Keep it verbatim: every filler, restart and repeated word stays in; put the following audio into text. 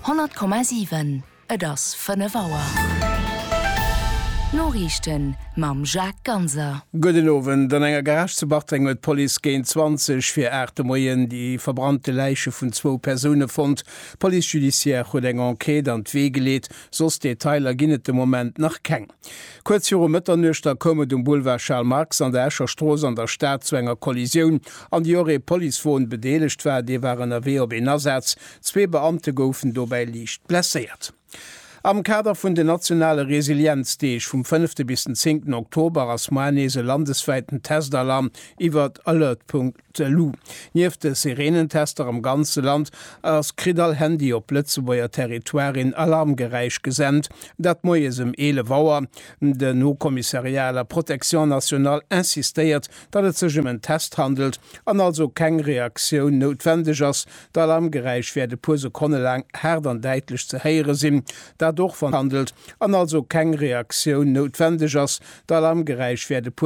Honnert Komma siwen, Et ass fënnef Auer. D'Noriichten mam Jacques Ganser. Gudden Owend. An enger Garage zu Bartreng huet d'Police géint zwanzeg vir aacht de Moien déi verbrannte Läiche vun zwou Persoune fonnt. D'Police judiciaire huet eng Enquête an d'Wee geleet, soss Detailer ginn et de Moment nach keng. Kuerz viru Mëtternuecht da koum et um Boulevard Charles Marx an der Escher Strooss an der Stad zu enger Kollisioun, an déi och ee Policewon bedeelegt war. Dee war ënnerwee op een Asaz. Zwee Beamte goufen dobäi liicht blesséiert. Am Kader vun den nationale Resilienzdeeg vum fënnefte bis den zéngten Oktober ass moar nees e landeswäiten Testalarm iwwert alert.lu. Nieft de Sirenentester am ganze Land ass kritt all Handy op Lëtzebuerger Territoire een Alarmgeräisch gesent, dat moies ëm eelef Auer. Den Haut Commissariat à la Protection nationale insistéiert, datt et sech ëm en Test handelt an also keng Reaktioun noutwendeg ass. D'Alarmgeräisch wäert e puer Sekonne laang haart an däitlech ze héiere sinn, dat och wann handelt an also keng Reaktioun noutwendeg ass. D'Alarmgeräisch wäert e puer.